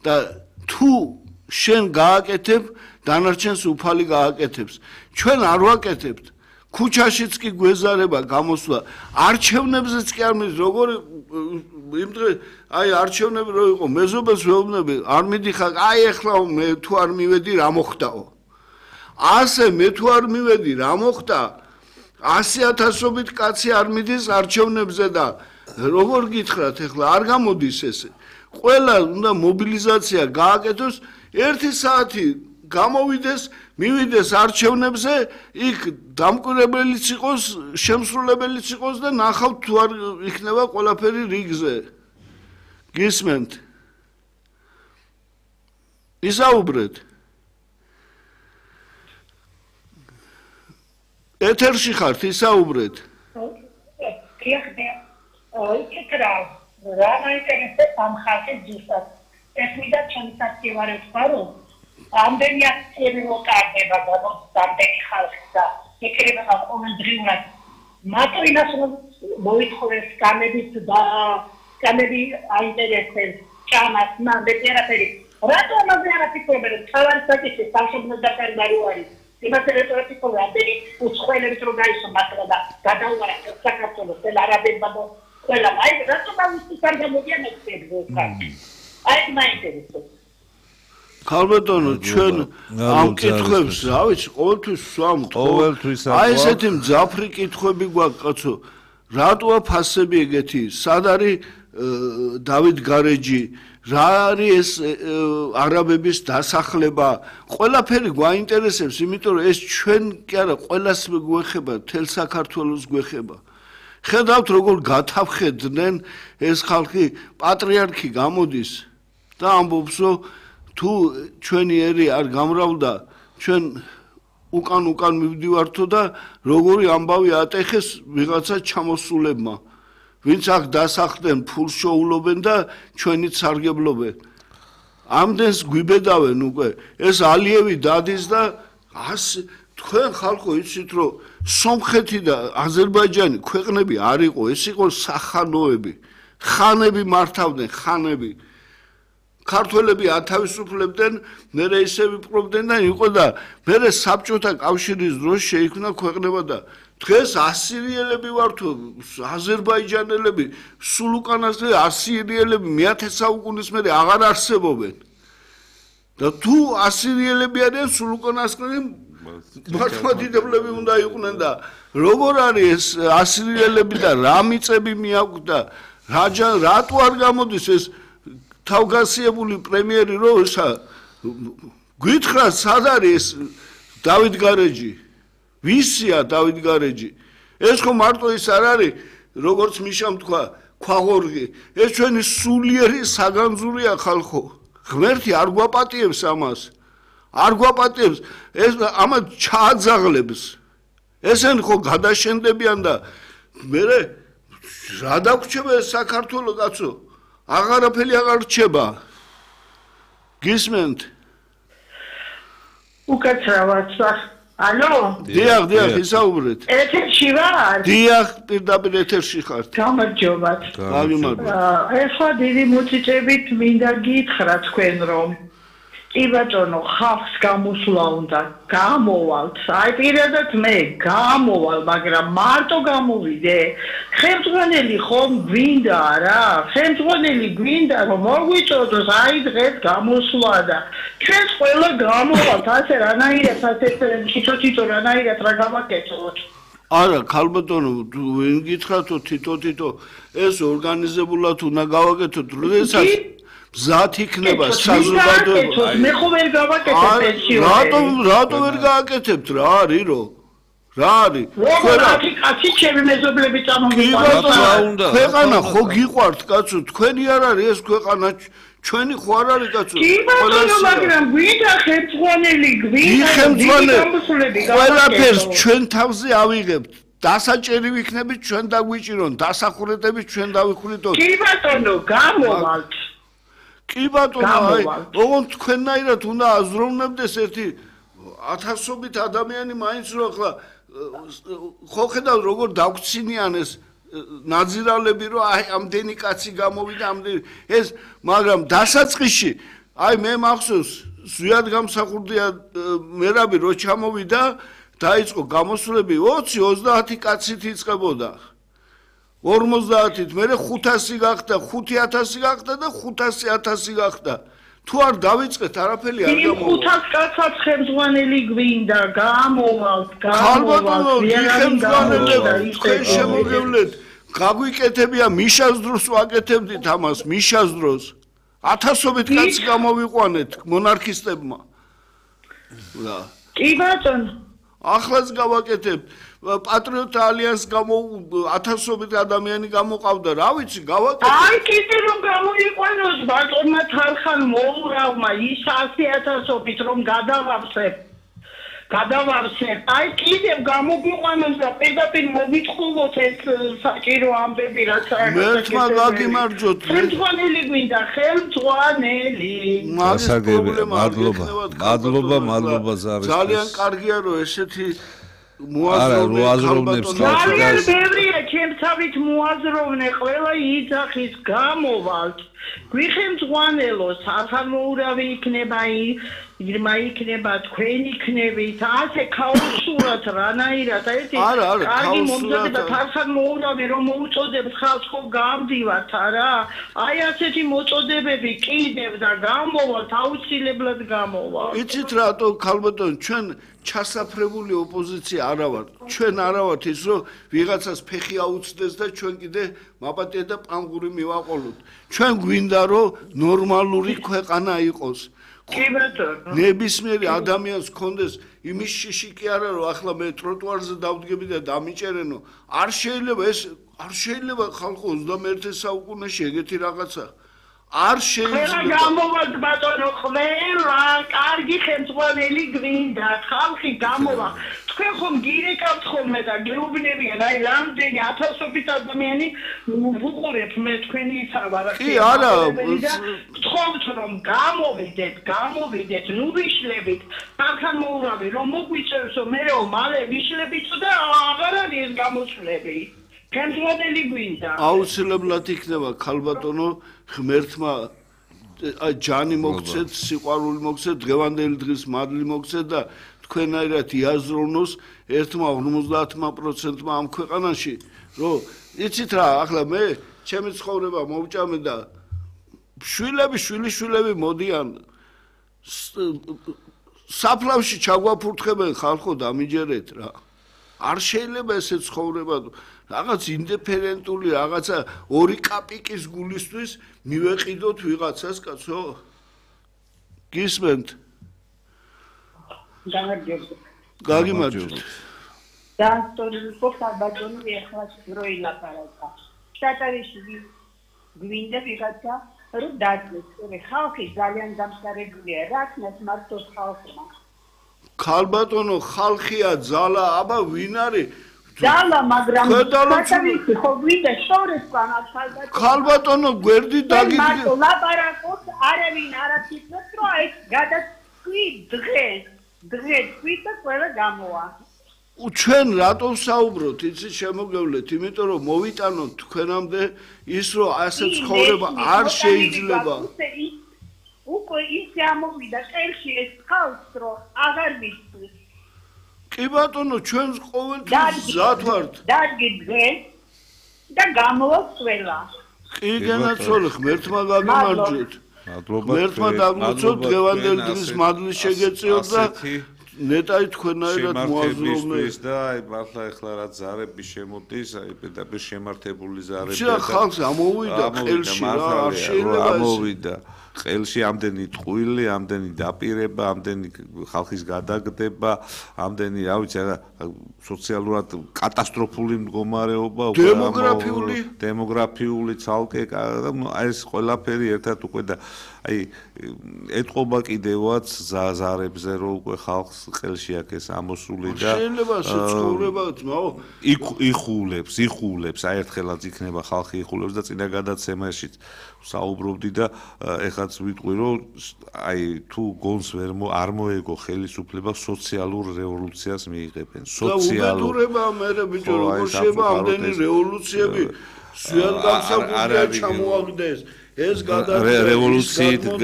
და თუ შენ გააკეთებ დანარჩენს უფალი გააკეთებს ჩვენ არ ვაკეთებთ ქუჩაშიც კი გვეზარება გამოსვლა არჩევნებზეც კი არ მის როგორ იმ დღე აი არჩევნები რო იყო მეზობელს ვეუბნები არ მიდიხარ აი ეხლა მე თუ არ მივედი რა მოხდაო ასე მე თუ არ მივედი რა მოხდა 100,000-ობით კაცი არ მიდის არჩევნებზე და როგორ გითხრათ ეხლა არ გამოდის ესე ყველა უნდა მობილიზაცია გააკეთოს 1 საათი გამოვიდეს მივიდეს არჩევნებზე იქ დამკვირვებელიც იყოს შემსრულებელიც იყოს და ნახავთ თუ არ იქნება ყველაფერი რიგზე გისმენთ ისაუბრეთ ეთერში ხართ ისაუბრეთ რა მაინტერესებს ამ ხალხის ზუსტად ეს მინდა ჩემი საკითხი ვარო ამდენი აქციები მოტარდება ამდენი ხალხი და ეკრება ყოველდღიურად მარტო იმას მოითხოვეს კამები აინტერესებს ჭამას ნამდვილი არაფერი რატო ამაზე არ აფიქრებენ თავარი საკითხი სამშობლოს დაკარგარი არის იმას რეტორიკული ამდენი უცხოელებს რო გაისო მართლა და გადაუვარა საქართველოს არაბებმა და ყველა აი რატო ამის კარგამოდიან ექცევს აი მაინტერესებს ქალბატონო ჩვენ ამ კითხვებს რა ვიცი ყოველთვის ვსვამთ აი ესეთი მძაფრი კითხვები გვაქვს კაცო რატოა ფასები ეგეთი სად არის დავით გარეჯი რა არის ეს არაბების დასახლება ყველაფერი გვაინტერესებს იმიტომ რომ ეს ჩვენ კი არა ყველას გვეხება თელ საქართველოს გვეხება ხედავთ როგორ გათავხედდნენ ეს ხალხი პატრიარქი გამოდის და ამბობსო თუ ჩვენი ერი არ გამრავლდა ჩვენ უკან მივდივართო და როგორი ამბავი ატეხეს ვიღაცა ჩამოსულებმა ვინც აქ დასახლდნენ ფულს შოულობენ და ჩვენით სარგებლობენ ამდენს გვიბედავენ უკვე ეს ალიევი დადის და თქვენ ხალხო იცით რომ სომხეთი და აზერბაიჯანი ქვეყნები არ იყო ეს იყო სახანოები ხანები მართავდნენ ხანები ქართველები ათავისუფლებდნენ მერე ისე ვიპყრობდნენ და იყო და მერე საბჭოთა კავშირის დროს შეიქმნა ქვეყნება და დღეს ასირიელები ვართ აზერბაიჯანელები სულ უკანასკნელი ასირიელები მე-10 საუკუნის მერე აღარ არსებობენ და თუ ასირიელები არიან სულ უკანასკნელი მართლმადიდებლები უნდა იყვნენ და როგორ არის ეს ასირიელები და რა მიწები მიაქვს და რატო არ გამოდის ეს თავგასიებული პრემიერი რო გითხრა სად არის დავით გარეჯი ვისია დავით გარეჯი ეს ხო მარტო ის არ არის როგორც მიშამ თქვა ქვაღორღი ეს ჩვენი სულიერი საგანძურია ხალხო ღმერთი არ გვაპატიებს ამას არ გვაპატიებს ეს ამას ჩააძაღლებს ესენ ხო გადაშენდებიან და მე რა დაგვრჩება ეს საქართველო კაცო აღარაფერი აღარ რჩება გისმენთ უკაცრავად ალო დიახ ისაუბრეთ ეთერში ვარ დიახ პირდაპირ ეთერში ხართ გამარჯობათ ეხლა დიდი მოწიწებით მინდა გითხრა თქვენ რომ კი ბატონო ხალხს გამოსვლა უნდა გამოვალთ აი პირადად მე გამოვალ მაგრამ მარტო გამოვიდე ხელმძღვანელი ხომ გვინდა რა ხელმძღვანელი გვინდა რომ მოგვიწოდოს აი დღეს გამოსვლა და ჩვენს ყველა გამოვალთ ასე რანაირად ასე თითო რანაირად რა გავაკეთოთ არა ქალბატონო ვინ გითხრათო თითო ეს ორგანიზებულად უნდა გავაკეთოთ როდესაც მზად იქნება საზოგადოება მე ხო ვერ გავაკეთებ პენსიონერი რატო ვერ გააკეთებთ რა არის რა არის კაცი ჩემი მეზობლები წამოვიყვანოთ ქვეყანა ხო გიყვართ კაცო თქვენი არ არის ეს ქვეყანა ჩვენი ხო არ არის კაცო კი ბატონო მაგრამ გვინდა ხელმძღვანელი გვინდა ყველაფერს ჩვენ თავზე ავიღებთ დასაჭერი ვიქნებით ჩვენ დაგვიჭირონ დასახურეთებით ჩვენ დავიხვრიტოთ კი ბატონო გამოვალთ კი ბატონო აი ოღონდ თქვენნაირად უნდა აზროვნებდეს ერთი 1000-ობით ადამიანი მაინც რო ახლა ხო ხედავ როგორ დაგვრცინიან ეს ნაძირალები რომ აი ამდენი კაცი გამოვიდა ამდენი ეს მაგრამ დასაწყისში აი მე მახსოვს ზვიად გამსახურდია მერაბი რო ჩამოვიდა დაიწყო გამოსვლები 20-30 კაცით იწყებოდა 50-ით მე 500 გახდა 5000 გახდა და 500-1000 გახდა თუ არ დავიწყეთ არაფერი არ გამოვა 500 კაცად ხელმძღვანელი გვინდა გამოვალთ ხელმძღვანელები თქვენ შემოგევლეთ გაგვიკეთებია მიშას დროს ვაკეთებდით ამას მიშას დროს 1000-ობით კაცი გამოვიყვანეთ მონარქისტებმა რა კი ბატონო ახლაც გავაკეთებთ პატრიოტთა ალიანს გამო 1000-ობით ადამიანი გამოყავდა რა ვიცი გავაკეთე აი კიდე რომ გამოიყვანოს ბატონმა თარხან მოურავმა ის 100,000-ობით რომ გადავარსებ აი კიდე გამოგვიყვანოს და პირდაპირ მოგიტყუოთ ეს საჭირო ამბები რაც მერთმა გაგიმარჯოთ ხელმძღვანელი გვინდა ხელმძღვანელი მადლობა ზარის ძალიან კარგია რომ ესეთი მოაზროვნებს ძალიან ბევრია ჩემთავით მოაზროვნე ყველა იძახის გამოვალთ გვიხელმძღვანელო სახალმოურავი იქნება ირმა იქნება თქვენ იქნებით ასე ქაოსურად რანაირად ერთი კარგი მომზადება სახალმოურავი რომ მოუწოდებთ ხალხს ხო გავდივართ არა აი ასეთი მოწოდებები კიდევ და გამოვალთ აუცილებლად გამოვალთ იცით რატო ქალბატონ ჩვენ ჩასაფრებული ოპოზიცია არა ვართ ჩვენ არა ვართ ის რომ ვიღაცას ფეხი აუცდეს და ჩვენ კიდე მაპატია და პანგური მივაყოლოთ ჩვენ გვინდა რომ ნორმალური ქვეყანა იყოს კი ბატონო ნებისმიერი ადამიანს კონდეს იმის შიში კი არა რომ ახლა მე ტროტუარზე დავდგები და დამიჭერენო არ შეიძლება ხალხო 21 საუკუნეში ეგეთი რაღაცა არ შეიძლება გამოვალთ ბატონო ყველა კარგი ხელმძღვანელი გვინდა ხალხი გამოვა თქვენ ხომ გირეკავთ ხოლმე და გეუბნებიან აი რამდენი 1000-ობით ადამიანი ვუყურებ მე თქვენი სავარაქსი კი არა გთხოვთ რომ გამოვიდეთ ნუ ვიშლებით თანხან მოურავი რომ მოგვიწევსო მე რომ მალე ვიშლებით და აღარ არის გამოსვლები ხელმძღვანელი გვინდა აუცილებლად იქნება ქალბატონო ღმერთმა ჯანი მოგცეთ სიყვარული მოგცეთ დღევანდელი დღის მადლი მოგცეთ და თქვენაირად იაზროვნოს 50% ამ ქვეყანაში რომ იცით რა ახლა მე ჩემი ცხოვრება მოვჭამე და შვილები მოდიან საფლავში ჩაგვაფურთხებენ ხალხო დამიჯერეთ რა არ შეიძლება ესე ცხოვრება რაღაც ინდიფერენტული რაღაცა ორი კაპიკის გულისთვის მივეყიდოთ ვიღაცას კაცო გისმენთ გაგიმარჯოთ და სტორიკო საბადონი ახლა შროილაპარაკა შტატარიში გვინდა ვიღაცა რომ დაძლეს ხალხი ძალიან დამსარებულია რაკნას მარტო ხალხმა ქალბატონო ხალხია ძალა აბა ვინ არის ძალა მაგრამ შტატარიში ხო გვინდა შორესთან ქალბატონო გვერდი დაგიდგე მარტო ლაპარაკობ არავინ არაფერს რო აი გადასკვი დღეს თვითონ ყველა გამოვა. ჩვენ რატო საუბრობთ, იცით შემოგევლეთ, იმიტომ რომ მოვიტანოთ თქვენამდე ის რომ ასე ცხოვრება არ შეიძლება. უკვე ისე ამოვიდა წელში ეს ხალხს რომ აღარ მისწვის. კი ბატონო, ჩვენ ყოველთვის მზად ვართ. დაგიდგე და გამოვა ყველა. კი განაცოლე, ღმერთმა გაგიმარჯვეთ. მადლობა დაგმოწოთ დღევანდელი დღის მადლი შეგეწიოთ და ნეტარი თქვენაირად მოაზროვნეთ და აი მართლა ეხლა რა ზარები შემოდის აი პედაგოგ შემართებული ზარები და ხალხს ამოვიდა ყელში რა არ შეიძლება ამოვიდა ყელში ამდენი ტყუილი ამდენი დაპირება ამდენი ხალხის გადაგდება ამდენი რა ვიცი რა სოციალურად კატასტროფული მდგომარეობა დემოგრაფიული ცალკე აი ეს ყველაფერი ერთად უკვე და აი ეთყობა კიდევაც ზარებზე რომ უკვე ხალხს ყელში აქეს ამოსული და შეიძლება ცხოვრება ძმაო იხულებს აი ერთხელაც იქნება ხალხი იხულებს და წინა გადაცემაში საუბრობდი და ეხლა სადაც ვიტყვი რომ აი თუ გონს არ მოეგო ხელისუფლება სოციალურ რევოლუციას მიიღებენ უბედურება მე ბიჭო როგორ შეიძლება ამდენი რევოლუციები ზიანგამსაგურდია ჩამოაგდეს ეს გადაწყვეტა რევოლუციით